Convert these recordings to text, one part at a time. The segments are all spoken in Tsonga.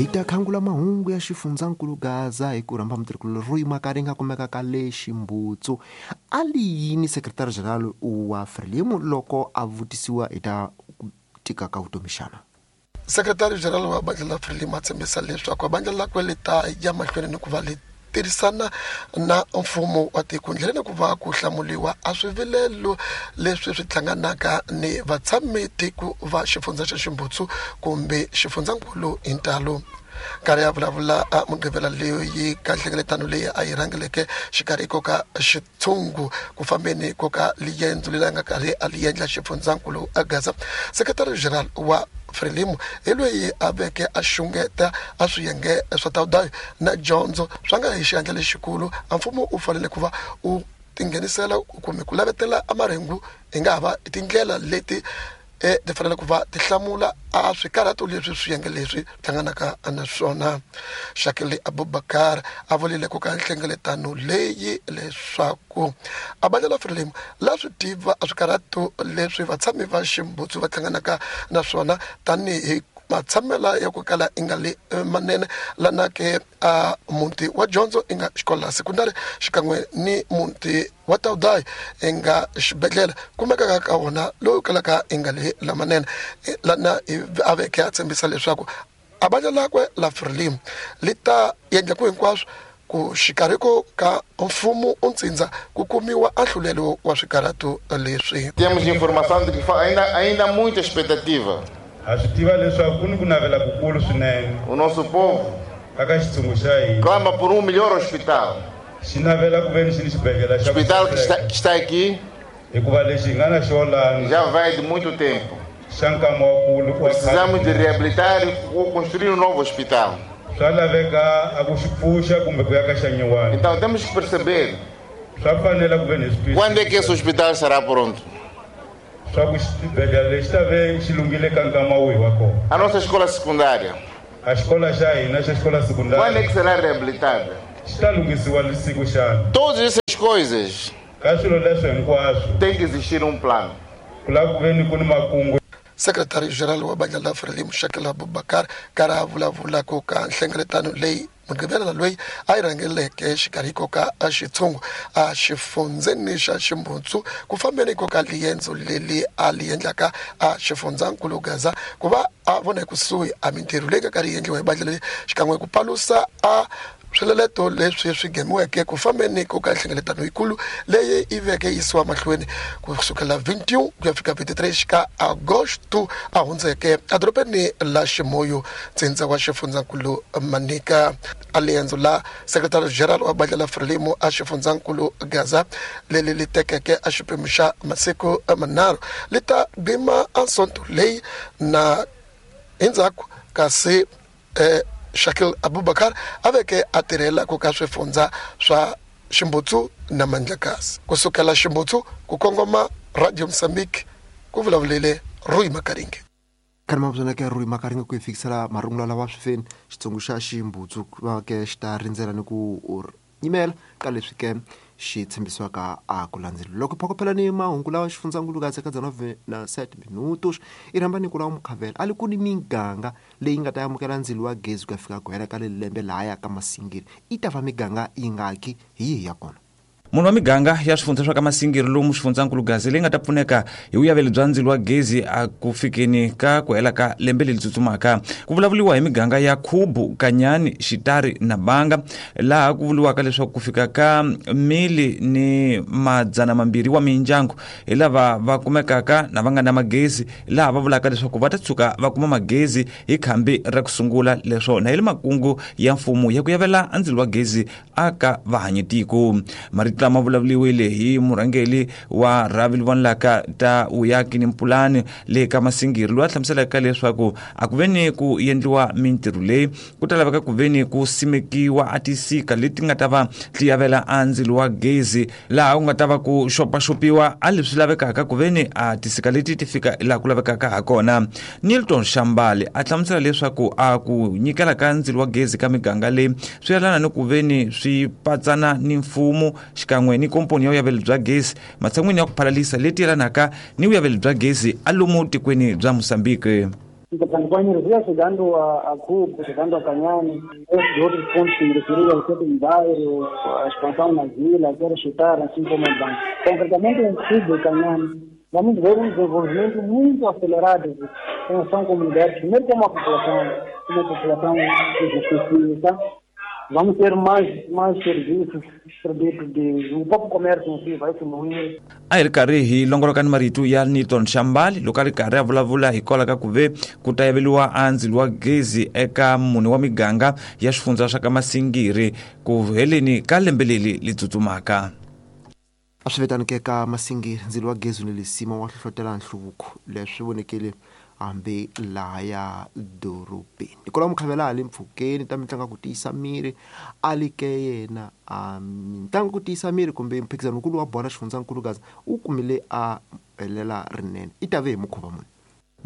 Hi ta khangula mahungu ya xifundzankulu Gaza hi ku rhamba mutirhikulori Rui Makaringa kumekaka le Ximbutsu. A li yini Secretary General wa Frelimo loko a vutisiwa hi ta ku tika ka vutomi xana? Secretary General wa bandla la Frelimo a tshembisa leswaku bandla lakwe li ta ya mahlweni ni ku va li tirhisana na mfumo wa tiko ndleleni ku va ku hlamuriwa a swivilelo leswi swi hlanganaka ni vatshami tiko va xifundza xa Ximbutsu kumbe xifundzankulu hi ntalo. Nkarhi ya vulavula a Mugqivela leyi ka nhlengeletano leyi a yi rhangeleke xikarhi ko ka xitshungu ku fambeni ko ka liyendzo leri a nga karhi a li endla xifundzankulu a Gaza, Secretary General wa Frelimo hi loyi a veke a xungeta a swiyenge swa tawudayo na dyondzo swa nga hi xiandla lexikulu a mfumo u fanele ku va u tinghenisela kumbe ku lavetela a marhengu hi nga ha va tindlela leti ti fanele ku va ti hlamula a swikarhato leswi swiyenge leswi hlanganaka na swona. Shakili Abubakar a vulile ku ka nhlengeletano leyi leswaku a bandla la Frelimo la swi tiva a swikarhato leswi vatshami va Ximbutsu va hlanganaka na swona tanihi matshamela ya ku kala i nga le manene lana ke a muti wa dyondzo i nga xikolo la sekondari xikan'we ni muti wa Taudayi i nga xibedhlele kumekaka ka wona lowu kalaka i nga le lamanene lana a veke a tshembisa leswaku a bandla lakwe la Frelimo li ta endla ku hinkwaswo ku xikarhi ko ka mfumo u ntsindza ku kumiwa ahlulelo wa swikarhato leswi. Temos informação de que ainda há muita expectativa. Ha swi tiva leswaku ku ni ku navela kukulu swinene. O nosso povo aka xitshungu xa hina clama por um melhor hospital. Xi navela ku ve ni xi ni xibedhlele xa Hospital que está aqui hikuva lexi hi nga na xona já vai de muito tempo. Xa nkama wa kulu wa Precisamos de reabilitar ou construir um novo hospital. Swa laveka a ku xi pfuxa kumbe ku ya ka xa nyuwani. Então temos que perceber Swa fanela ku ve ni swi quando é que esse hospital será pronto. Swa ku xibedhlele lexi ta ve xi lunghile ka nkama wihi wa kona. A nossa escola secundária. A xikolo xa hina xa xikolo secundária. Quando é que será reabilitada? Xi ta lunghisiwa siku xana? Todas essas coisas Ka swilo leswo hinkwaswo tem que existir um plano. Ku lava ku ve ni ku ni makungu. Secretary General wa bandla la Frelimo Shakil Abubakar karhi a vulavula ku ka nhlengeletano leyi Mugqivela loyi a yi rhangeleke xikarhi ko ka a xitshungu a xifundzeni xa Ximbutsu ku fambeni ko ka liendzo leri a li endlaka a xifundzankulu Gaza ku va a vona ekusuhi a mintirho leyi nga karhi yi endliwa hi bandla leri xikan'we ku palusa a swileleto leswi swi nghemiweke ku fambeni ko ka nhlengeletano yikulu leyi yi veke yisiwa mahlweni ku sukela 21 ku ya fika 23 ka Agosto a hundzeke edorobeni la Ximoyo ntsindza wa xifundzankulu Manica. A liendzo la Secretary General wa bandla la Frelimo a xifundzankulu Gaza leri li tekeke a xiphemu xa masiku manharhu li ta gima a sonto leyi na endzhaku kasi Shakil Abubakar a veke a tirhela ku ka swifundza swa Ximbutsu na Mandlakazi. Ku sukela Ximbutsu ku kongoma Radio Mozambique ku vulavulele Rui Makaringe. Khani mavuzana ke Rui Makaringe ku hi fikisela marungula lawa swifeni xitsongo xa Ximbutsu va ke xi ta rindzela ni ku yimela ka leswi ke xi tshembisiwaka a ku landzela. Loko phokophela ni mahungu lawa xifundzankulu ka ka dzana na 7 minutos i rhamba ni ku lawa mukhavela a li ku ni miganga leyi nga ta amukela ndzilo wa gezi ku ya fika ku hela ka leli lembe lahaya ka Masingiri i ta va miganga yi ngaki hi yihi ya kona. Munhu wa miganga ya swifundza swa ka Masingiri lomu xifundzankulu Gaza leyi nga ta pfuneka hi vuyaveli bya ndzilo wa gezi a ku fikeni ka ku hela ka lembe leri tsutsumaka. Ku vulavuriwa hi miganga ya Khubu, Kanyani, Xitari na Banga, laha ku vuriwaka leswaku ku fika ka mili ni madzana mambirhi wa mindyangu hi lava va kumekaka na va nga na magezi, laha va vulaka leswaku va ta tshuka va kuma magezi hi khambi ra ku sungula. Leswo na hi le makungu ya mfumo ya ku yavela ndzilo wa gezi aka vahanyitiko. Marito lama vulavuriwile hi murhangeri wa rhavi leri vonelaka ta vuyaki ni mpulani le ka Masingiri, loyi a hlamuselaka leswaku a ku ve ni ku endliwa mintirho leyi ku ta laveka ku ve ni ku simekiwa a tisika leti nga ta va ti yavela a ndzilo wa gezi, laha ku nga ta va ku xopaxopiwa a leswi lavekaka ku ve ni a tisika leti ti fika laha ku lavekaka ha kona. Nilton Shambali a hlamusela leswaku a ku nyikela ka ndzilo wa gezi ka miganga leyi swi yelana ni ku ve ni swi patsana ni mfumo xikan'we ni komponi ya vuyaveli bya gezi matshan'wini ya ku phalalisa leti yelanaka ni vuyaveli bya gezi a lomu tikweni bya Mozambique. Portanto, com a energia chegando a Cubo, chegando a Canhane, esses outros pontos que me referi, o sétimo bairro, a expansão na vila, quero chutar, assim como o banco. Concretamente em Cubo e Canhane, vamos ver um desenvolvimento muito acelerado. São comunidades, primeiro como a população que justifica. Vamos ter mais serviços, produtos de o próprio comércio em si vai fluir. A hi ri karhi hi longoloka ni marito ya Newton Shambali loko a ri karhi a vulavula hikwalaho ka ku ve ku ta yaveliwa a ndzilo wa gezi eka mune wa miganga ya swifundza swa ka Masingiri ku heleni ka lembe leri li tsutsumaka. A swi vetanike ka Masingiri ndzilo wa gezi ni lisima wa hlohlotela nhluvuko leswi vonekile hambi laha ya dorobeni. Hikwalaho Mukhavela a le mpfhukeni ta mitlangu ku tiyisa miri a li ke yena a mitlangu ku tiyisa miri kumbe mphikizano-nkulu wa bola xifundzankulu Gaza u kumile a helela rinene i ta ve hi mukhuva muni.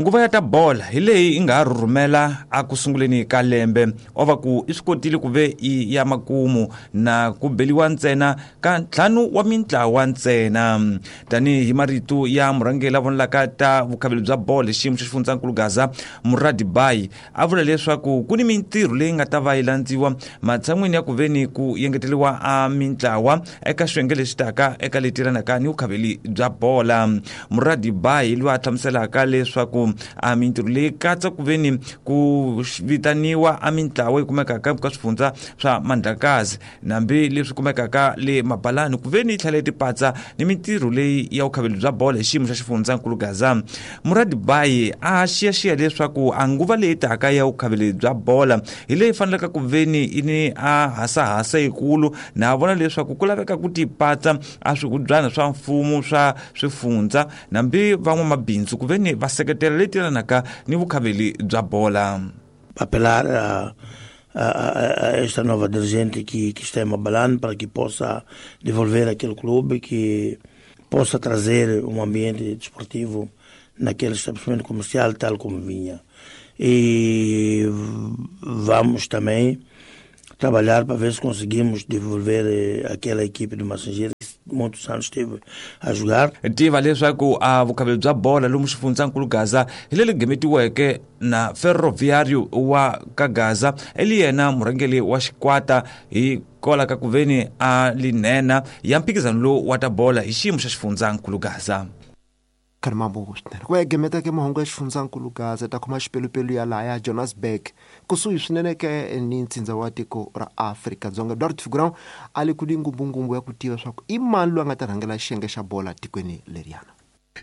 Nguva ya ta bola hi leyi yi nga ha rhurhumela a ku sunguleni ka lembe o va ku i swi kotile ku ve i ya makumu na ku beliwa ntsena ka ntlhanu wa mintlawa ntsena. Tanihi marito ya murhangeri la vonelaka ta vukhaveli bya bolo hi xiyimo xa xifundzankulu Gaza Muradi Bai a vula leswaku ku ni mintirho leyi nga ta va yi landziwa matshan'wini ya ku veni ku yengeteriwa a mintlawa eka xiyenge lexi taka eka leti yelanaka ni vukhaveli bya bola. Muradi Bai loyi a hlamuselaka leswaku a mintirho leyi katsa ku veni ku vitaniwa a mintlawa yi kumekaka ka swifundza swa Mandlakazi nambi leswi kumekaka le Mabalani ku veni yi tlhela yi tipatsa ni mintirho leyi ya vukhaveli bya bola hi xiyimo xa xifundzankulu Gaza. Muradi Bai a xiyaxiya leswaku a nguva leyi taka ya vukhaveli bya bola hi leyi fanelaka ku veni yi ni a hasahasa yikulu na vona leswaku ku laveka ku tipatsa a swihubyana swa mfumo swa swifundza nambi van'wamabindzu ku veni va seketela leti yelanaka ni vukhaveli bya bola. Apelar a esta nova dirigente que está em Mabalane para que possa devolver aquele clube, que possa trazer um ambiente desportivo naquele estabelecimento comercial tal como vinha. E vamos também trabalhar para ver se conseguimos devolver aquela equipe do Massingeiro que muitos anos esteve a jogar. Tiva leswaku a vukhaveli bya bola lomu xifundzankulu Gaza hi leri gemetiweke na Ferroviário wa ka Gaza eli yena murhangeri wa xikwata hi kola ka ku veni a linena ya mphikizano lowu wa ta bola hi xiyimo xa xifundzankulu Gaza. Karmambo swinene ku ya gemeta ke mahungu ya xifundzankulu Gaza ta khoma xipelupelu ya laha ya Johannesburg kusuhi swinene ke ni ntsindza wa tiko ra Afrika-Dzonga. Eduardo Figurão a le ku ni ngumbungumbu ya ku tiva swa ku i mani loyi a nga ta rhangela xiyenge xa bola tikweni leriyana.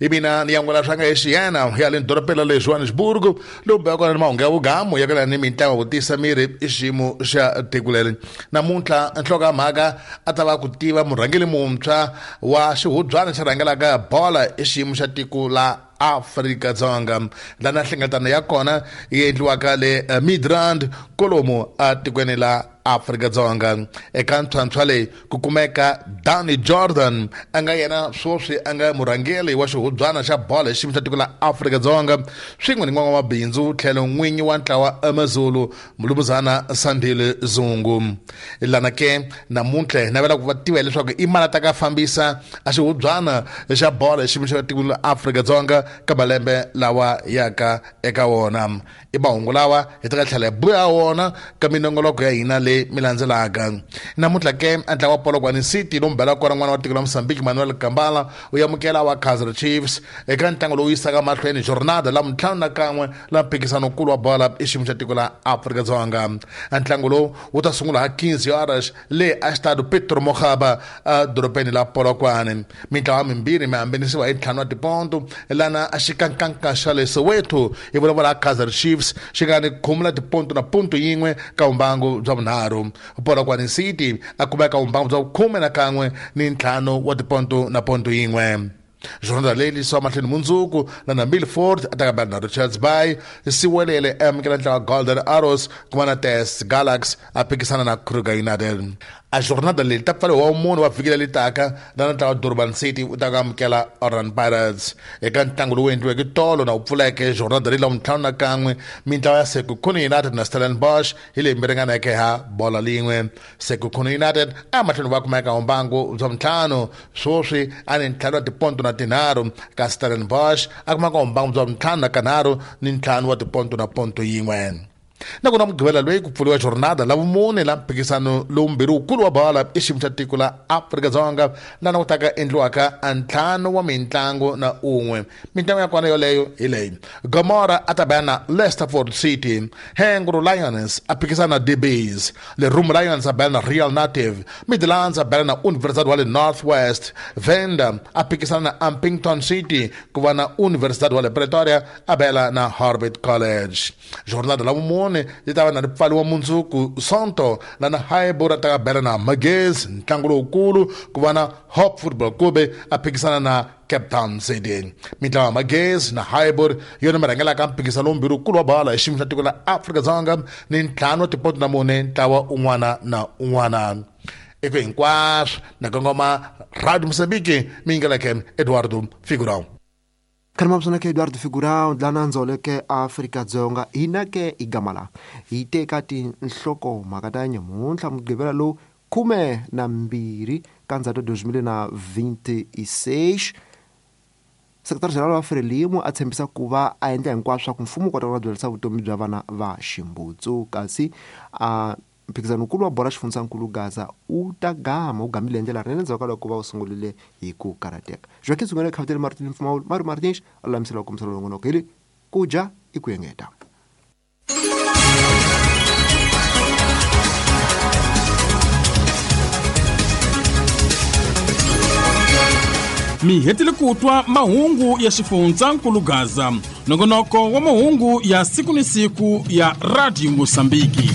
I mina ni yan'wela swa nga exiyana ya le dorobeni le Johannesburg lowu beka kona ni mahungu ya vugamu ya kala ni mitlangu ku tiyisa miri i xiyimo xa tiko leri. Namuntlha nhloko ya mhaka a ta va ku tiva murhangeri muntshwa wa xihubyana xi rhangelaka bola i xiyimo xa tiko la Afrika-Dzonga lana nhlengeletano ya kona yi endliwaka le Midrand kolomu atikweni la Afrika-Dzonga. Eka ntlhantlha leyi ku kumeka Danny Jordan a nga yena sweswi a nga murhangeri wa xihubyana xa bola hi xiyimo xa tiko la Afrika-Dzonga swin'we ni n'wan'wamabindzu tlhelo n'winyi wa ntlawa Amazulu Mulumuzana Sandile Zungu. Lana ke namuntlha hi navela ku va tiva leswaku i mali ta ka fambisa a xihubyana xa bola hi xiyimo xa tiko la Afrika-Dzonga ka malembe lawa yaka eka wona. I mahungu lawa hi ta ka tlhela hi buya wona ka minongoloko ya hina leyi mi landzelaka. Namuntlha ke a ntlawa wa Polokwane City lowu mbela kona n'wana wa tiko la Mozambique Manuel Gambala u amukela wa Kaizer Chiefs eka ntlangu lowu yisaka mahlweni jornada la 51 la mphikizano-nkulu wa bola i xiyimo xa tiko la Afrika-Dzonga. Ntlangu lowu wu ta sungula ha 15 horas le a Estadio Petro Mokgaba a dorobeni la Polokwane. Mintlawa mimbirhi mi hambanisiwa hi 5 wa tiponto lana a xikankanka xa le Soweto hi vulavula Kaizer Chiefs xi nga ni khumula tiponto na ponto yin'we ka vumbangu bya vunharhu. Polokwane City a kumeka vumbangu bya 11 ni 5 wa tiponto na ponto yin'we. Jornada leyi yisiwa mahlweni mundzuku na Milford a ta kambela na Richards Bay Siwelele amukela ntlawa Golden Arrows kuma na TS Galaxy a phikisana na Kruger United. A jornada leyi ta pfariwa wa mune wa vhiki leri taka lana ntlawa Durban City wu ta ku amukela Orlando Pirates. Eka ntlangu lowu endliweke tolo na wu pfuleke jornada leyi lavuntlhanu na kan'we, mintlawa ya Sekhukhune United na Stellenbosch hi leyi mi ringaneke ha bola lin'we. Sekhukhune United a mahlweni va kumeka mbangu bya vuntlhanu sweswi a ni ntlhanu wa tiponto na tinharhu, kasi Stellenbosch a kumaka mbangu bya vuntlhanu na kanharhu ni ntlhanu wa tiponto na ponto yin'we. Nakona Mugqivela loyi ku pfuriwa jornada la vumune la mphikisano lowumbirhi wukulu wa bola i xiyimo xa tiko la Afrika-Dzonga lana ku taka endliwaka a ntlhanu wa mintlangu na un'we. Mintlangu ya kona yoleyo hi leyi: Gomora a ta baya na Leicesterford City, Hengro Lions a phikisana na DBs, Lerumo Lions a baya na Real Native, Midlands a baya na Universidad wa le North West, Venda a phikisana na Ampington City, ku va na Universidad wa le Pretoria a bela na Harbert College. Jornada la vumune yi ta va na ri pfaliwa mundzuku Sonto lana Highbury a ta bela na Magezi, ntlangu lowukulu ku va na Hope Football Club a phikisana na Cape Town City. Mintlawa ya Magezi na Highbury yona mi rhangelaka mphikisano lowumbirhi wukulu wa bola hi xiyimo xa tiko la Afrika-Dzonga ni ntlhanu wa tipoto na mune ntlawa un'wana na un'wana. Eko hinkwaswo na kongoma Radio Mozambique mi yingeleke Eduardo Figurão. Khalima ke Eduardo Figurão dlana ndzoleke Afrika-Dzonga hina ke i gama la hi teka tinhlokomhaka ta nyamuntlha Mugqivela lowu 12 ka Ndzhato 2026. Sekretari General wa Frelimo a tshembisa ku va a endla hinkwaswo swa ku mfumo wu kota ku byarisa vutomi bya vana va ximbutsu, kasi a mphikizano wukulu wa bola xifundzankulu Gaza wu ta gama wu gamile hi ndlela rinene endzhaku ka loko va wu sungurile hi ku karhateka. Joaquim Sungane Khavutele Martin Mpfumawulo Mario Martins a lulamisela ku kombisa longonoko hi le ku dya i ku engeta. Mi hetile ku twa mahungu ya xifundzankulu Gaza, nongonoko wa mahungu ya siku ni siku ya Radio Mosambiki.